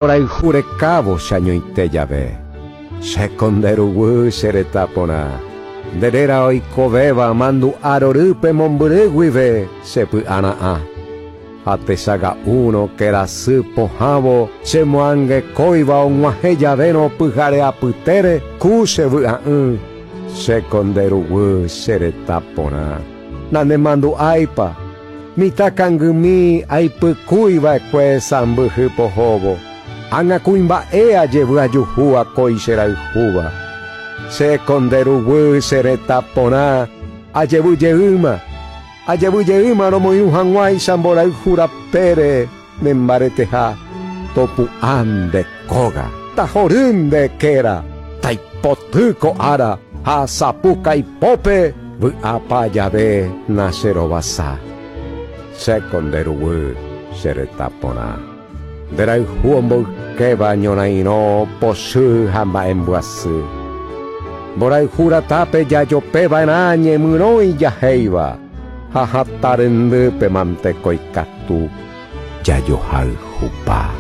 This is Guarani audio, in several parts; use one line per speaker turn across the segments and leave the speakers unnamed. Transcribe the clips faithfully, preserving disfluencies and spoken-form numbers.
Mborayhu rekávo cheañoite jave. Chéko nde ruguy che retã porã. Nde réra oikovéva mandu'a rorýpe mombyry guive chepy'ara'ã. Ha techaga'úrõ kerasy pohãvo chemoangekóiva og̃uahẽ javérõ pyhare apytére ku che vy'a'ỹ. Chéko nde ruguy che retã porã. Nanemandu'áipa mitã kangymi aipykúiva'ekue sãmbyhy pohóvo. Ág̃a kuimba'e ajevy ajuhu akói cherayhúva. Chéko nde ruguy che retã porã ajevyjeýma. Ajevyjeýma romoirũ hag̃uáicha mborayhu rapére nembareteha. Topu'ã nde kóga, tahory nde kéra, taipoty ko ára ha sapukaipópe vy'apa jave nacherovasa. Chéko nde ruguy che retã porã. Nderayhu omboykéva ñorairõ pochy ha mba'embyasy. Mborayhu ratápe jajopeva'erã ñemyrõ ijahéiva ha hatã rendýpe mante ko ikatu jajohayhupa.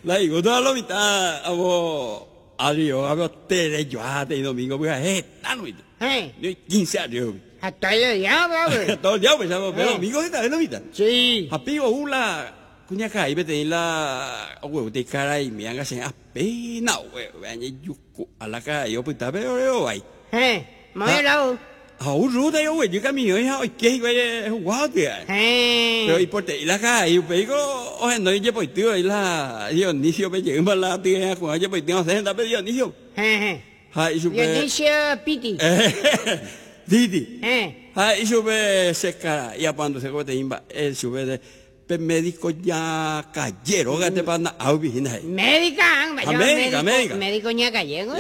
La igusto lo mitad abo adiós abo tere yo te domingo pues eh tan mitad.
Eh.
Ni quince adiós.
Hasta el día, bravo.
Todo el día pues pero domingo está lo mitad.
Sí.
Hapigo ula kuña kai bete la huevo te cara y me anga se apenas huevo añe yuku a la cara yo pues pero yo ay.
Eh, muy lado.
Ha un ruta yo güey, yo camino hija hoy qué güey guau tía.
Eh.
Pero y por te la cara y pe o no y pues tío y la Dionisio pe llega la tía con ella pues tío se pe Dionisio.
Eh.
Ha y su
Dionisio Piti.
Didi.
Eh.
Ha y su se cara y cuando se te imba el sube de pe médico ya cayero gate pa na au vigina.
Médica,
médica, médica.
Médico ña cayero.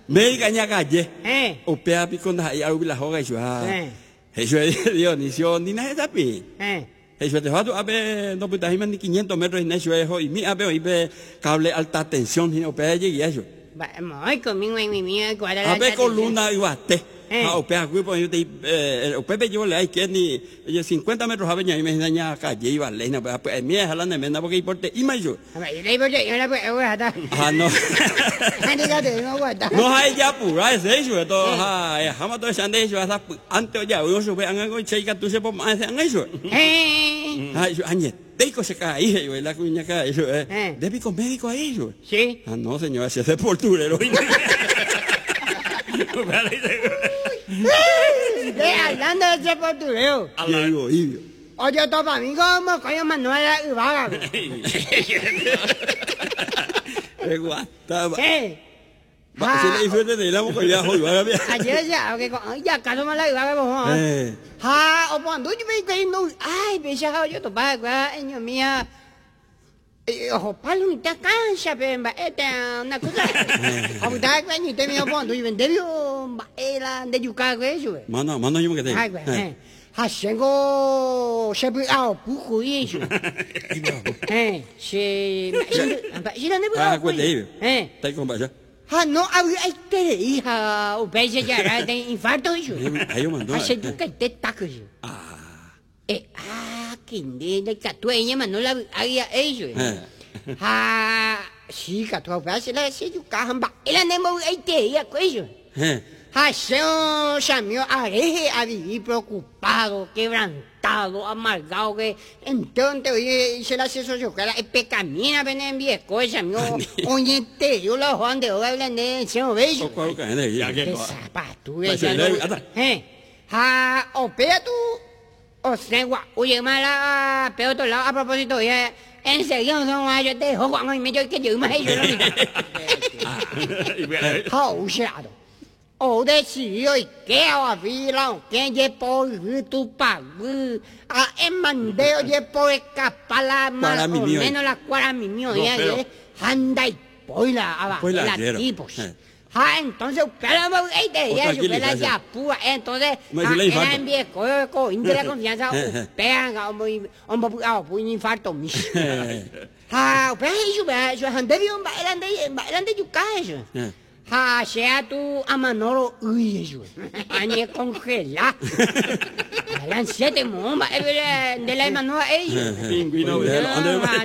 Médica ña calle.
Eh.
O pea pico na ya la joga y su ah.
Eh.
Eso es Dionisio ni nada tapi.
Eh.
Eso te va a ver no puta ni quinientos metros en eso es y mi a ver y ve cable alta tensión y o pea llegue eso.
Va, muy conmigo mi mi cuál
A ver columna y bate. Ah, o pea cuipo yo te eh o pepe yo le hay que ni cincuenta metros a veña y me daña calle y vale no pues mi es la nemenda porque importe y más yo. Ah no. No hay ya pura ese eso todo ha jamás todo ese ande eso hasta antes ya yo sube an algo chica tú se por más an eso.
Eh.
Ah yo añe teco se cae yo la cuña cae eso eh. De pico médico ahí yo.
Sí.
Ah no señor, ese es sepulturero.
De hablando de sepulturero.
Diego, Ibio.
Oye, topa amigo, como coño Manuela Ibarra.
Guata.
¿Qué?
Va, si le hizo de la boca ya hoy va
Ayer ya, que ya caso mala Ibarra vos.
Eh.
Ha, o cuando yo me que no, ay, becha yo topa, guau, mía. Ojo, palo ni te cansa, pero esta una cosa. O da que ni te me cuando yo vendeo, era de yuca eso.
Mano, mano yo me quedé.
Ay, güey. Ha sengo se ah, pujo y eso. Eh, se si no
Ah, cuente
Eh.
Está con vaya.
Ha no, ay, te hija, o beche ya de infarto eso.
Ahí yo mandó.
Ha se yuca te taco.
Ah.
Eh, ah, que de catueña mano la había ellos. Ha, sí, catua, se la se yuca hamba. Ela nemo ay te ya cuello. Ha, se samio areje a vivir preocupado, quebrantado, amargado que entonces oye se la se socio la pecamina ven en viejo samio oye te yo la Juan de hablan de se bello.
Ya
que zapatu ya. Eh. Ha, opea tú. O sea, oye, mala, pero otro lado, a propósito, ya, enseguida no yo te dejo cuando me yo que yo me yo lo 好吓的，我的是yo que a vila que ye por tu pa a en mandeo ye por escapar más o menos la cuara mi mío ya anda y poila abajo la tipos. Ah, entonces, pero ey, de ya supera ya púa, entonces, era en viejo, con la confianza, pegan, un ah, un infarto, mis. Ah, pero eso, eso, ande bien, ande, ande yuca eso. Ah, sea tu amanoro, uy, eso. Añe congela. Eran siete, mo, mba'e nde la emanóva ellos.
Pingüino.
Ah,